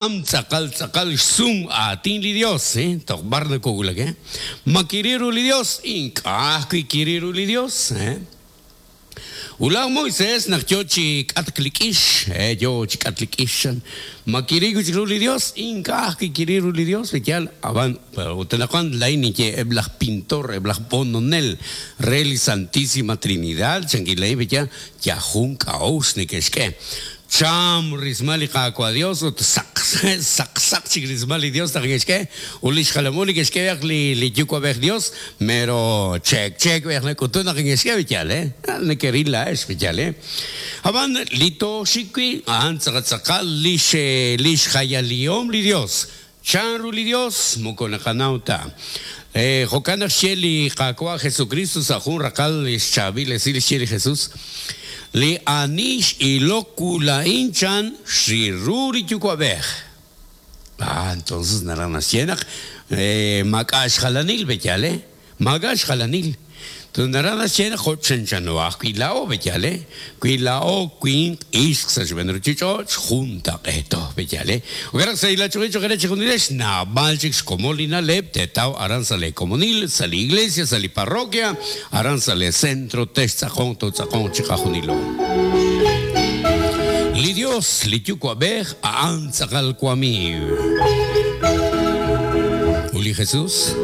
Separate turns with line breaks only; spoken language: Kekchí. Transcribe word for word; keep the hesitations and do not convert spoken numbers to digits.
Tz'aqal tz'aqal xsum aatin li Dios, eh? Toj b'ar nakowulak, eh? Ma kiril ru li Dios, ink'a' ajwi' kiril ru li Dios, eh? Ut laj Moisés naq yo chi k'atk li k'ix, eh, yo chi k'atk li k'ix chan, ma kiril wi' chik ru li Dios, ink'a' ajwi' kiril ru li Dios, yal, ab'an ut anaqwan laa'in ninye eb' laj pintor, eb' laj b'ononel re li Santísima Trinidad, chankil laa'in yal, yal jun k'a'uxl neke'xk'e. Cham rismal li Qaawa' Dios ut saq saq saq chik rismal li Dios naq neke'xk'e ut li xjalam u neke'xk'e b'eq li li yuwa'b'ej Dios mero cheek cheek b'eq nak'utun naq neke'xk'e yal, eh? Nekeril laa'ex yal, eh? Ab'an li tooxik wi' a'an tz'aqal tz'aqal lix lix jayalihom li Dios. Chan ru li Dios moko naqanaw ta. Jo'kan naq xye li Qaawa' Jesucristo sa' jun raqal xchaab'il esil xye li Jesus li ani x'ilok wu laa'in chan xril ru li yuwa'b'ej. Ah, entonces naraj naxye naq maak'a' xjalanil b'eyal, eh? Maak'a' xjalanil. Entonces naraj naxye naq jo' chanchano ajwi' laa'o b'eyal, eh? Wi laa'o winq ixq sa' xb'een ruuchich'och' juntaq'eeto b'eyal, eh? Jo'kan naq sa' ilach'oqil cho'q re chixjunilex naab'al chik xkomon li na'leb' teetaw aran sa' le komonil, sa' li iglesia, sa' li parroquia, aran sa' le centro textz'aqonq totz'aqonq chiqajunilo. Li Dios, li yuwa'b'ej, a'an tz'aqal wamiiw. Ut li Jesús,